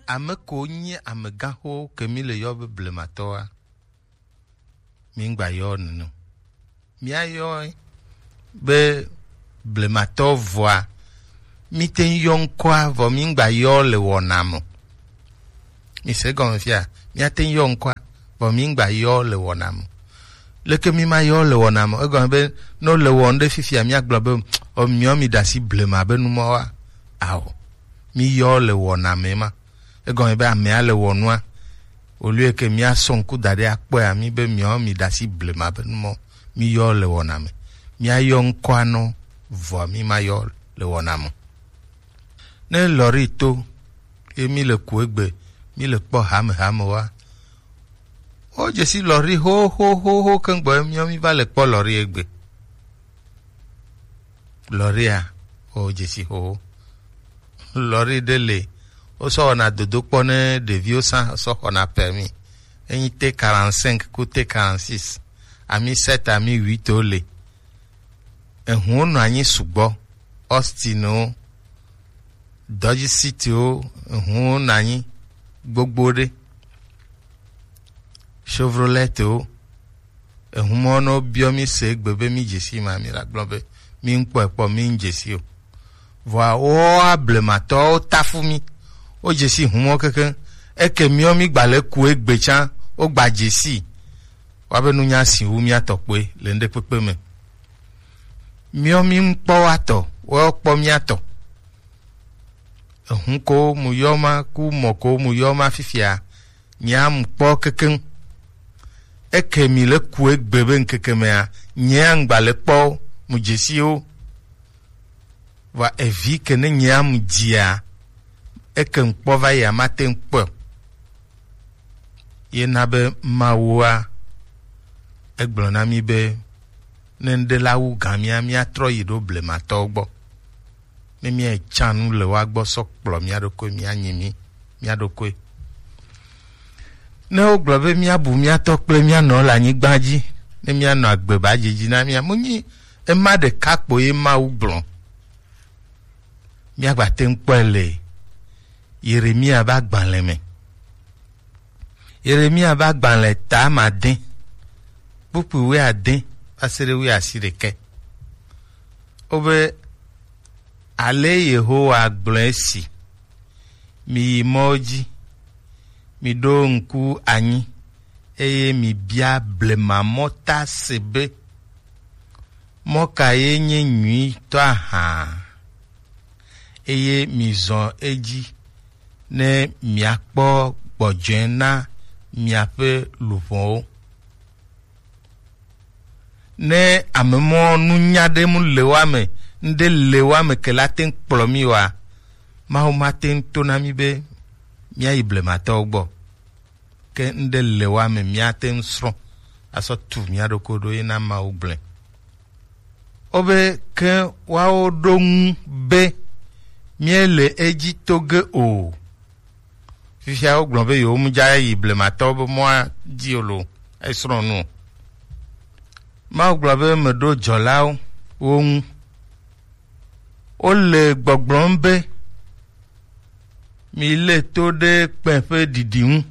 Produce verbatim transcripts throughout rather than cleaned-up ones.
Ame ko nyi amegãxowo ke mi le yɔ be blematɔwoa, mi ŋgba yɔ nene o. Míayɔe be blematɔ vɔa, míte ŋu yɔ ŋkɔa, vɔ mi ŋgba yɔ le wɔna me o. Mi se gɔme fia, míate ŋu yɔ ŋkɔa, vɔ mi ŋgba yɔ le wɔna me o. Leke mi ma yɔ le wɔna me o? Egɔme be, ne wole wɔ nu ɖe fifia, míagblɔ be, o, miɔ mi ɖe asi blema be numɔwoa? Ao, mi yɔ le wɔna me ma. Egɔme be amea le wɔ nua. Au lieu ke míasɔ ŋku da ɖe akpɔe, ami be miɔ mi ɖe asi blema be numɔ, mi yɔ le wɔna me. Míayɔ ŋkɔa nɔ, vɔa mi ma yɔ le wɔna me. Ne lɔri to, ye mi le ku egbe, mi le kpɔ hamehame wa. O, dze si lɔri xoxoxoxo keŋ gbɔ, miɔ mi va le kpɔ lɔri egbe. Lɔria, o, dze si xoxo. Lɔri ɖe le, wosɔ wɔna dodokpɔ ne ɖeviwo sã sɔ xɔna permis. Enyi T quarante-cinq ku T quarante-six, ami sept, ami huit wo le. Ehuwo nɔ anyi sugbɔ, Austin wo, Dodge City wo, ehuwo nɔ anyi gbogbo ɖe. Chevrolet wo, ehumɔ nɔ biɔ mi se egbe be mi dze si ma, mi la gblɔ be mi ŋkpɔe kpɔ, mi ŋdze si o. Vɔa woa blematɔwo tafu mi. Wo dze si humɔ kekeŋ. Eke miɔ mi gba le ku egbe tsã, wo gba dze si. Wa be nunya si wu mia tɔ kpoe le ŋɖe kpekpe me. Miɔ mi ŋkpɔ wa tɔ, wo kpɔ mia tɔ. Ehun ko mu yɔ ma ku mɔ ko mu yɔ ma fifia, nyea mu kpɔ kekeŋ. Eke mi le ku egbe be ŋkeke mea, nyea ŋgba le kpɔ mu dzesiwo. Va evi ke ne nyea mu dzia, eke ŋkpɔ va yi amate ŋkpɔ. Ye na be Mawua, egblɔ na mi be, ne ŋɖe la wu gã mía, míatrɔ yi ɖo blematɔwo gbɔ. Ne míayi tsa nu le woa gbɔ sɔ kplɔ mía ɖokui, míanyi mí, mía ɖokui. Ne wogblɔ be míabu mía tɔ kple mía nɔ le anyigba dzi, ne míanɔ agbe ba dzidzi na mía, mu nyi ema ɖeka kpo ye Mawu gblɔ. Míagba te ŋu kpɔe le Yeremia be agbalẽ me. Yeremia be agbalẽ ta made, kpukpui wuiade va se ɖe wuiasiɖekɛ. Wobe, ale Yehowa gblɔe si, miyi mɔwo dzi, miɖo ŋku anyi, eye mibia blema mɔta se be, mɔ ka ye nye nyuitɔ ahã? Eye mizɔ edzi ne miakpɔ gbɔdzɔe na miaƒe luʋɔwo. Ne amemɔ nunya ɖe mu le wa me, ŋɖe le wa me ke la te ŋu kplɔ mi wa, Mawu ma te ŋu to na mi be míayi blematɔwo gbɔ. Ke ŋɖe le wa me míate ŋu srɔ̃ asɔ tu mía ɖokui ɖo ye na Mawu gblẽ. Wobe ke woawo ɖo ŋu be, míele edzi to ge o. Fifia wogblɔ be yewo mu dza yi blematɔwo be mɔa dzi o lo, esrɔ̃ nu o. Mawu gblɔ be meɖo dzɔlawo wo ŋu. Wole gbɔgblɔm be, mi lé to ɖe kpẽ ƒe ɖiɖi ŋu.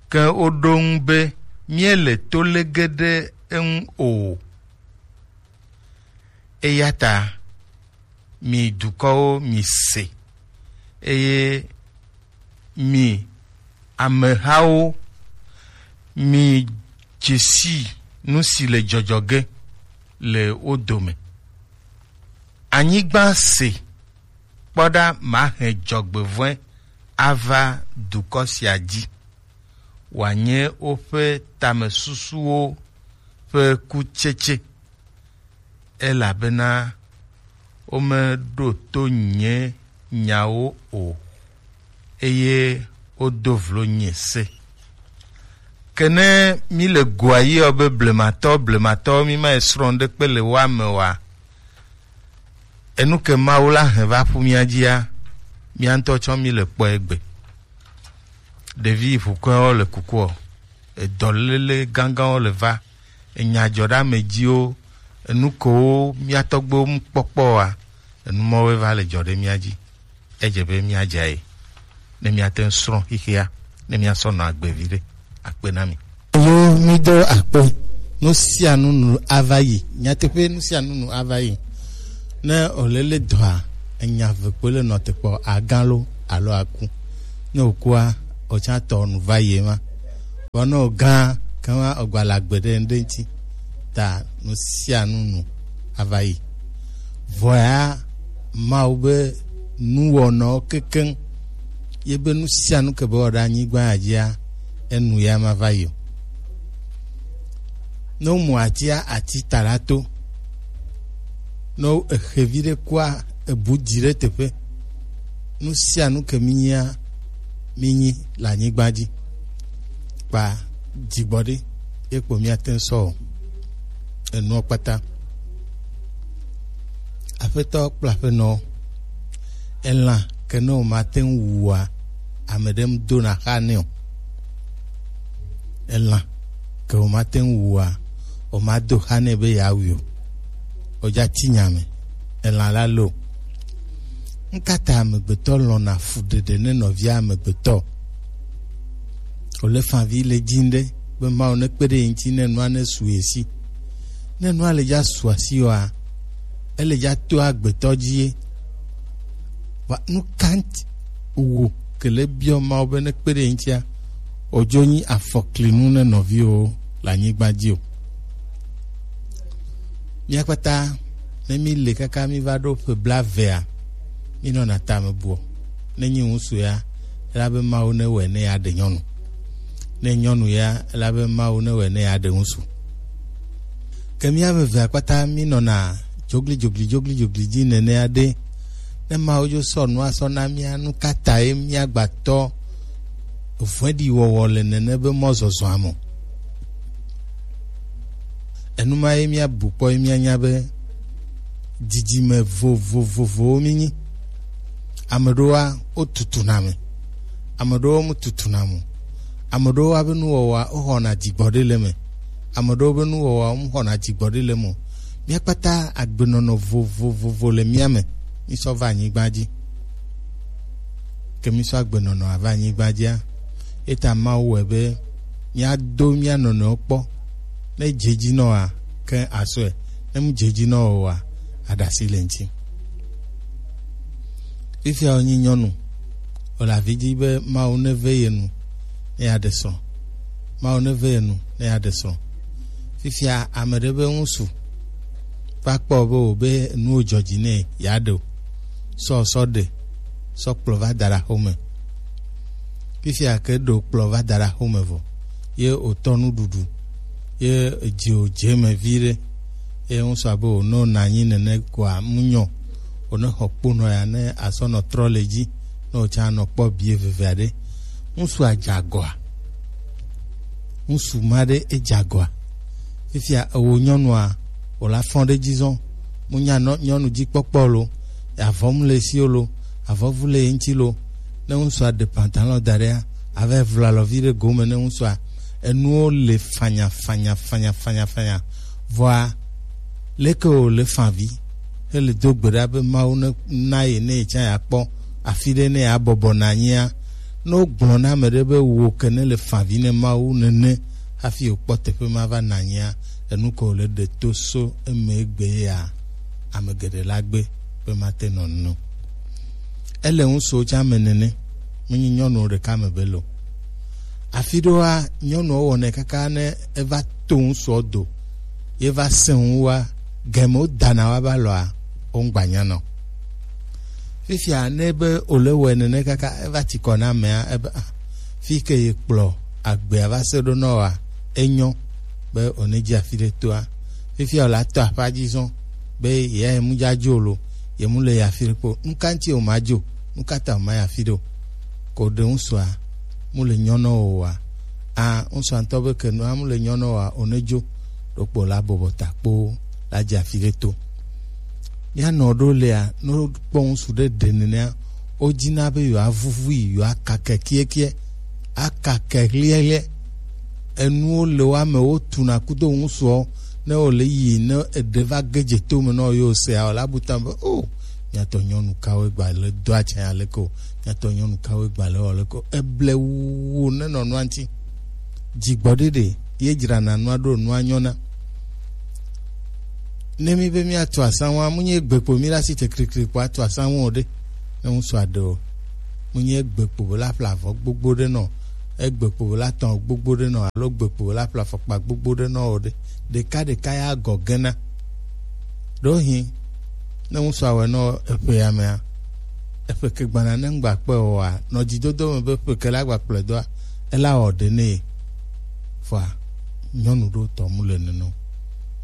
Ke woɖo ŋu be, míele to lé ge ɖe eŋu o. Eya ta, mi dukɔwo, mi se, eye mi amehawo, mi dzesi nu si le dzɔdzɔ ge le wo dome. Anyigba se, kpɔ ɖa, mahe dzɔgbevɔ̃e ava dukɔ sia dzi, wòanye woƒe tamesusuwo ƒe kutsetse, elabena womeɖo to nye nyawo o, eye wodo vlo nye se. Ke ne míle goa yi ɔ be blematɔ, blematɔ, mímayi srɔ̃ ɖekpe le woa me oa, enu ke Mawu la hɛn va ƒu mía dzia, mía ŋutɔ tsɔ míle kpɔe egbe. Ɖevi ʋukɔewo le kukuɔ, edɔléle gãgãwo le va, enyadzɔɖeamedziwo, enu kewo mía tɔgbuiwo mu kpɔkpɔ oa, enu mɔwoe va le dzɔ ɖe mía dzi. Edze be míadze ayi. ne míate ŋu srɔ̃ xexea, ne míasɔ nɔ agbe viɖe. Akpe na mi. Yo, mído akpe. Nu sia nu nu ava yi. Nyateƒe, nu sia nu nu ava yi. Ne òlele dɔa, enya ve kpoe le nɔ te kpɔ, agã lo alo aku. Ne òkua, òtsã tɔ nu va yi ema. Vɔ ne ògã, kema ògba le agbe ɖe ŋɖe ŋuti. Ta nu sia nu nu ava yi. Vɔa Mawu be nuwɔnɔwo kekeŋ ye be nu sia nu ke be wɔ ɖe anyigba ya dzia, enu ya ma va yi o. Ne womu atia, ati ta la to. Ne wo- exe vi ɖe kua, ebu di ɖe teƒe. Nu sia nu ke mi nyia, mi nyi le anyigba dzi. Kpa dzigbɔɖi ye kpo míate ŋu sɔ o. Enuɔ kpata. Aƒetɔ kple aƒenɔ, elã ke ne wòmate ŋu wua, ame ɖe ŋu dona xa nɛ o. Elã ke wòmate ŋu wua, wòmado xa nɛ be yeawui o. Wòdza ti nya me. Elã la lo. Ŋkata amegbetɔ lɔ̃na fuɖeɖe ne nɔvia amegbetɔ? Wòle favi le dzi ɖe be Mawu nekpe ɖe ye ŋuti ne nua nesu ye si. Ne nua le dza su asi oa, ele dza to agbetɔ dzi ye. Va nu ka ŋuti wo ke le biɔ Mawu be nekpe ɖe ye ŋutia, wòdzo nyi afɔklinu ne nɔviwo le anyigba dzi o. Mía kpata ne mi le kaka mi va ɖo ƒe blaevea, mi nɔna tame buɔ. Ne nyi ŋutsu ya, ela be Mawu ne wɔe ne ya ɖe nyɔnu. Ne nyɔnu ya, ela be Mawu ne wɔe ne ya ɖe ŋutsu. Ke mía ame evea kpata mi nɔna dzogli dzogli dzogli dzogli dzi nenea ɖe, ne Mawu dzo sɔ nua sɔ na mía, nu ka tae mía gbatɔ vɔ̃ɖi wɔwɔ le nene be mɔzɔzɔa me? Enu ma ye míabu kpɔ ye míanya be dzidzime vovovovowo mínyi. Ame ɖewoa, wotutuna me. Ame ɖewo mututuna me o. Ame ɖewo woa be nuwɔwɔa, woxɔna dzigbɔɖi le eme. Ame ɖewo be nuwɔwɔa, womuxɔna dzigbɔɖi le eme o. Mía kpata agbenɔnɔ vovovovo le mía me. Mísɔ va anyigba dzi. Ke mísɔ agbenɔnɔ ava anyigba dzia, eta Mawu wɔe be míado mía nɔnɔewo kpɔ. Ne dze dzi nɔ oa, ke asɔe. Ne mu dze dzi nɔ oa, aɖasi le ŋuti. Fifia wonyi nyɔnu, wòle avi dzi be Mawu neve ye nu ne yeaɖe srɔ̃. Mawu neve ye nu ne yeaɖe srɔ̃. Fifia ame ɖe be ŋutsu va kpɔ be wò be nuwo dzɔ dzi nɛ yeaɖe o. Sɔ sɔ ɖe, sɔ kplɔ va da ɖe axome. Fifia ke ɖo kplɔ va da ɖe axome vɔ, ye wòtɔ nuɖuɖu, ye edzi wòdze eme viɖe, ye ŋusua be wònɔ nɔ anyi nene koa, mu nyɔ, wòne xɔ kponɔ ya ne asɔ nɔ trɔ le dzi, ne wòtsa nɔ kpɔ bie veve aɖe. Ŋusu adze agɔa? Ŋusu ma ɖe edze agɔa? Fifia ewo nyɔnua, wòla fɔn ɖe dzi zɔn, mu nya nɔ nyɔnu dzi kpɔkpɔ lo, avɔ mu le si lo, avɔvu le ye ŋuti lo. Ne ŋusua ɖe pantalon da ɖea, ava vla alɔvi ɖe gome ne ŋusua. Enuwo le fanya fanya fanya fanya fanya. Vɔa, leke wòle favi hele do gbe ɖa be Mawu ne na ye ne ye tsã yeakpɔ afi ɖe ne yeabɔbɔ nɔ anyia? Ne wogblɔ na ame ɖe be wò ke ne le favi ne Mawu nene hafi wòkpɔ teƒe ma va nɔ anyia, enu ke wòle ɖe to so eme egbe ya, ame geɖe la gbe be mate nɔ nu. Ele ŋutsuwo tsã me nene, menye nyɔnuwo ɖeka me be lo. Afi ɖewoa, nyɔnuwo wɔnɛ kaka ne eva to ŋutsuwo do, ye va sẽ ŋu wa, gɛmewo dana wa ba lɔa, wo ŋgba nya nɔ. Fifia ne be wòle wɔe nene kaka eva tsi kɔ na amea, ebe, ah, fi ke ye kplɔ agbea va se ɖo nɔ wa, enyo be wòne dzi afi ɖe toa. Fifia wòle atɔ aƒa dzi zɔn be ye ya ye mu dza dzo lo, ye mu le ya afi ɖe kpo. Nu ka ŋuti wòma dzo? Nu ka ta wòma ya afi ɖe o? Ko ɖe ŋusua mu le nyɔ nɔ wò wa? A, ŋusua ŋutɔ be ke nua mu le nyɔ nɔ wò wa, wòne dzo ɖokpo la bɔbɔ ta kpo la dze afi ɖe to. Mía nɔ ɖo lea, ne wokpɔ ŋusu ɖe ɖe nenea, wodina be yewoavuvui, yewoakake kiɛkiɛ, akake ɣliɛɣliɛ. Enuwo le wo ame, wotuna kudo ŋusuɔ, ne wòle yi, ne eɖe va ge dze to me nɔ yewo sea, wòle abu ta be, o, Miatɔ nyɔnu kawoe gba le do atsã ya leke o. Miatɔ nyɔnu kawoe gba le wɔ leke o. Eble wu ne nɔ nua ŋuti. Dzigbɔɖi ɖe ye dzrana nua ɖo nua nyɔna. Ne mi be miatu asanwa, mu nye gbe kpo mi la si te krikri kpo atu asanwa o ɖe. Ne ŋusua ɖe o, mu nye gbe kpo be la ƒle avɔ gbogbo ɖe nɔ, egbe kpo be la tɔn gbogbo ɖe nɔ, alo gbe kpo be la ƒle afɔkpa gbogbo ɖe nɔ o ɖe. Ɖeka ɖeka ya gɔ gena. Ɖo hin, ne ŋusua wɛ nɔ eƒe ya mea, eƒe ke gbana ne ŋgba kpe o wa, nɔ dzidodo me be ƒe ke la gba kplɔe doa, ela wɔ ɖe ne ye. Vɔa, nyɔnu ɖo tɔ mu le nene o.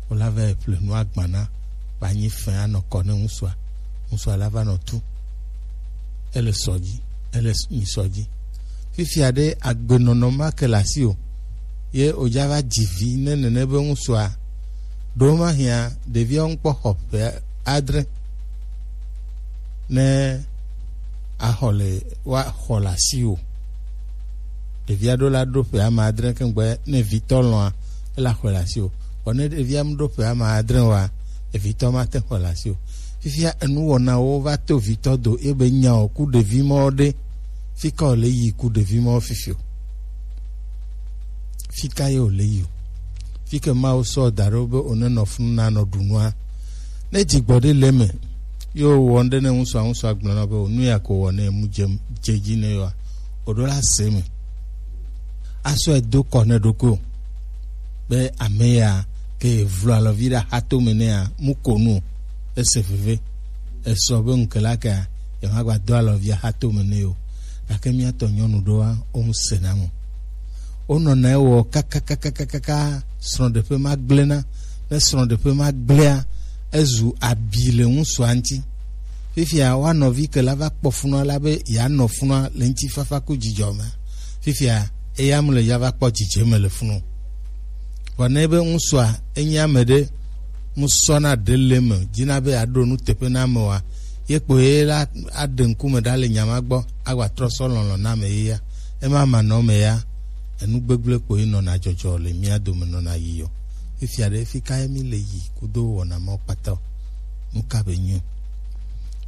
Wola va yi ƒle nu agbana, ba nyi fɛn anɔ kɔ ne ŋusua. Ŋusua la va nɔ tu. Ele sɔ dzi, ele s-, nyi sɔ dzi. Fifia ɖe agbenɔnɔ ma ke le asi o. Ye wòdza va dzi vi ne nene be ŋusua. Ɖo ma hiã, ɖeviawo ŋkpɔ xɔ ƒe adre. Ne axɔ le, woaxɔ le asi o. Ɖevia ɖo la ɖo ƒe ame adre keŋ gbe ne vitɔ lɔ̃a, ela xɔe le asi o. Vɔ ne ɖevia mu ɖo ƒe ame adre oa, evitɔ ma te xɔe le asi o. Fifia enuwɔnawo va to vitɔ do ebe nya o ku ɖevi mɔ ɖe. Fi ka wòle yi ku ɖevi mɔ fifi o? Fi ka ye wòle yi o? Fi ke Mawu sɔ da ɖo be wòne nɔ funu na nɔ ɖu nua. Ne dzigbɔɖi le eme, ye wòwɔ ŋɖe ne ŋusua, ŋusua gblɔ na be wò nu ya ko wɔ ne mu dze, dze dzi ne yewoa, wòɖo la se me. Asɔe do kɔ ne ɖokui o. Be ame ya ke vlo alɔvi ɖe axatome nɛa, mu ko nu o. Ese veve. Esɔ be ŋke la kea, yemagba do alɔvi axatome nɛ o. Gake míatɔ nyɔnu ɖoa, wo ŋu sena mo. Wonɔna ewɔ kakakakakaka, srɔ̃ɖeƒe ma gblẽna. Ne srɔ̃ɖeƒe ma gblẽa, ezu abi le ŋutsua ŋuti. Fifia woa nɔvi ke la va kpɔ funua la be yeanɔ funua le ŋutifafa ku dzidzɔ me. Fifia eya mu le ya va kpɔ dzidzeme le funu. Vɔ ne be ŋutsua enye ame ɖe ŋusɔna ɖe le me, dzina be yeaɖo nuteƒe na amewoa, ye kpo ye la aɖe ŋkume ɖa le nya ma gbɔ, agba trɔ sɔ lɔlɔ̃ na ame ye ya. Ema manɔ me ya, enu gbegblẽ kpo ye nɔna dzɔdzɔ le mía dome nɔna yi yɔ. Fifia ɖe, fi ka ye mi le yi kudo wɔna mawo kpata o? Nu ka be nyo?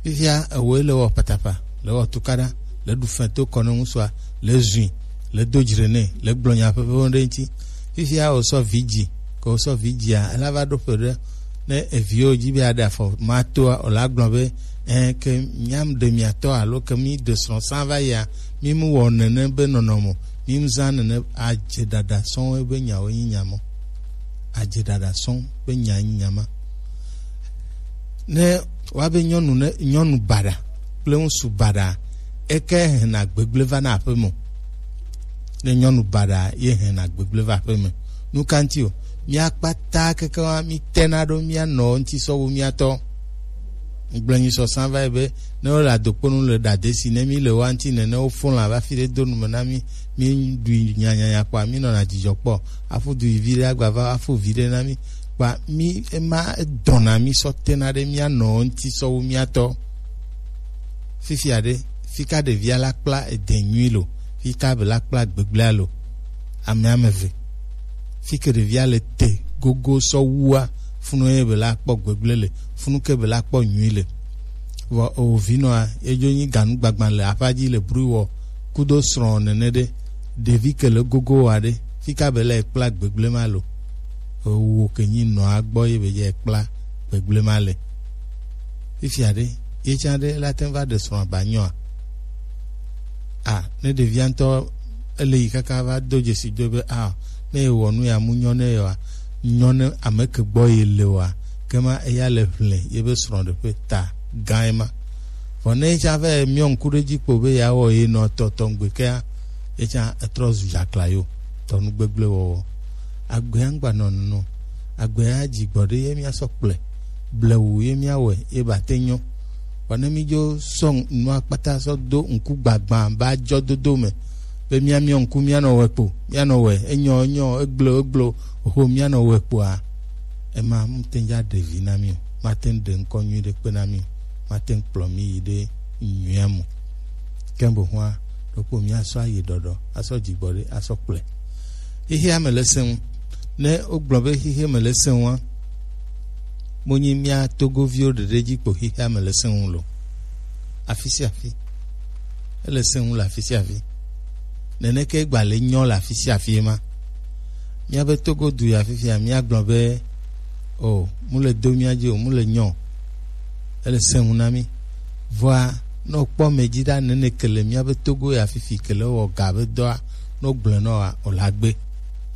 Fifia ewoe le wɔ patapa, le wɔ tukaɖa, le ɖu fɛn to kɔ ne ŋutsua, le zui, le do dzre nɛ, le gblɔ nya ƒeƒe ɖe ŋuti. Fifia wòsɔ vi dzi, ke wòsɔ vi dzia, ela va ɖo ƒe ɖe ne eviwo dzi be yeaɖe afɔ ma toa, wòla gblɔ be, ẽ, ke mía ɖe mia tɔ alo ke mí ɖe srɔ̃ sã va yia, mí mu wɔ nene be nɔnɔme o, mí mu zã nene, adze ɖaɖa sɔŋ be nyawo nyi nya mɔ. Adze ɖaɖa sɔŋ be nya nyi nya ma. Ne woabe nyɔnu ne, nyɔnu baɖa kple ŋutsu baɖa, eke hena gbegblẽ va na aƒe me. Ne nyɔnu baɖa ye hena gbegblẽ va aƒe me. Nu ka ŋuti o? Mía kpata keke wa mí tena ɖo mía nɔ ŋuti sɔ wu mía tɔ. Gblẽ nyi sɔsã va yi be, ne wole adokponu le ɖa desi, ne mí le wa ŋuti nene, wofɔ lã va fi ɖe do nu me na mí, mí ɖui nyanyanya kpɔa, mí nɔna dzidzɔ kpɔ. Afu du yi vi ɖe agba va, afu vi ɖe na mí. Kpa mí ema edɔna mí sɔ tena ɖe mía nɔ ŋuti sɔ wu mía tɔ. Fifia ɖe, fi ka ɖevia la kpla ede nyui lo, fi ka be la kpla gbegblẽa lo. Ame ame eve. Fi ke ɖevia le te gogo sɔ wua, funu ye be la kpɔ gbegblẽ le, funu ke be la kpɔ nyui le. Vɔ ewo vinɔa, edzo nyi ganu gbagbã le aƒa dzi le bru wɔ kudo srɔ̃ nene ɖe, ɖevi ke le gogo wa ɖe, fi ka be la ekpla gbegblẽ ma lo. Ewo ke nyi nɔa gbɔ ye be ye ekpla gbegblẽ ma le. Fifia ɖe, ye tsã ɖe la te va ɖe srɔ̃ ba nyɔa? A, ne ɖevia ŋutɔ ele yi kaka va do dzesi do be, a, ne ewɔ nu ya mu nyɔ ne yewa, nyɔ ne ame ke gbɔ ye le wa, ke ma eya le ʋlẽ ye be srɔ̃ɖeƒe ta gã ema. Vɔ ne ye tsã va miɔ ŋku ɖe edzi kpo be yeawɔ ye nɔ tɔtɔ ŋgbe kea, ye tsã etrɔ zu dzakla yo, tɔ nu gbegblẽ wɔwɔ. Agbea ŋgba nɔ nunu. Agbea dzi gbɔ ɖe ye mía sɔ kplɔe. Blewu ye mía wɔe ye ba te nyɔ. Vɔ ne mí dzo sɔ nua kpata sɔ do ŋku gbagbã ba dzɔ dodo me, be mía miɔ ŋku mía nɔ wɔe kpo, mía nɔ wɔe, enyɔ, enyɔ, egblo, egblo, ho mía nɔ wɔe kpoa, ema mu te ŋdza ɖe vi na mí o, ma te ŋ ɖe ŋkɔ nyui ɖe kpe na mí o, ma te ŋ kplɔ mí yi ɖe nyuia mu. Ke bohua, ɖokpo mía sɔ ayi ɖɔɖɔ, asɔ dzigbɔ ɖe, asɔ kplɔe. Xixea me le sẽŋu. Ne wogblɔ be xixea me le sẽŋua, Mo nyi mía Togoviwo ɖeɖe dzi kpo xexea me le sẽŋu lo. Afi sia afi. Ele sẽŋu le afi sia afi. Neneke gba le nyɔ le afi sia afi ema. Míabe Togo du ya fifia, míagblɔ be, o, mu le do mía dzi o, mu le nyɔ o. Ele sẽŋu na mí. Vɔa, ne wokpɔ mɛ dzi ɖa nene ke le míabe Togo ya fifi ke le wɔ ga be dɔa, ne wogblɔe nɔ wa, o la gbe.